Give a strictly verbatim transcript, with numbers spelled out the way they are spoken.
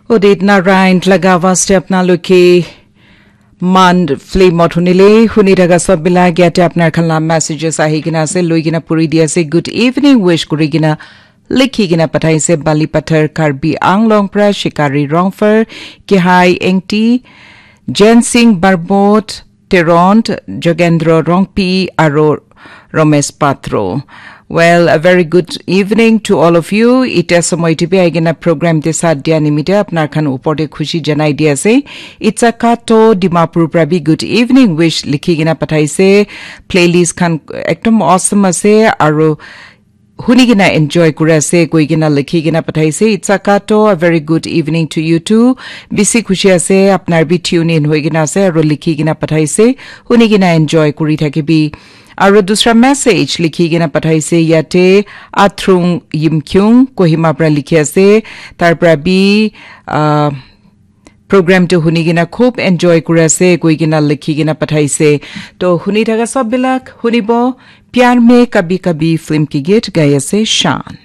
Udit Narayan laga awaz te apnaloke Man film ot hunile, huni thaka sob bilak yate apnar khan la messages ahi kena ase, loi kena puri di ase. Good evening wish kuri kena likhi kena pathaise Bali Pathar Karbi Anglong pra Shikari Rongfer, Kehai Engti, Jen Singh Barbot, Teront, Jogendro Rongpi, aro Romesh Patro. Well, a very good evening to all of you. Ite somoy tibi aigena program te sath dia nimite apnar khan upor te khushi janai di ase. Itsa Kato Dimapur pra bi good evening wish likhi kena pathaise. Playlist khan ekdom awesome ase, aro huni kena enjoy kuri ase koi kena likhi kena pathaise. Itsa Kato, a very good evening to you too. Bisi khushi ase apnar bi tune in hoi kena ase aro likhi kena pathaise. Huni kena enjoy kuri thakibi. Aro dusra message likhi kena pathaise yate Athrung Yimkyung Kohima pra likhi ase. Tar pra bi, ah, program tu huni kena khub enjoy kuri ase koi kena likhi kena pathaise. To huni thaka sob bilak hunibo Pyar Mein Kabhi Kabhi film ki geet gai ase Shan.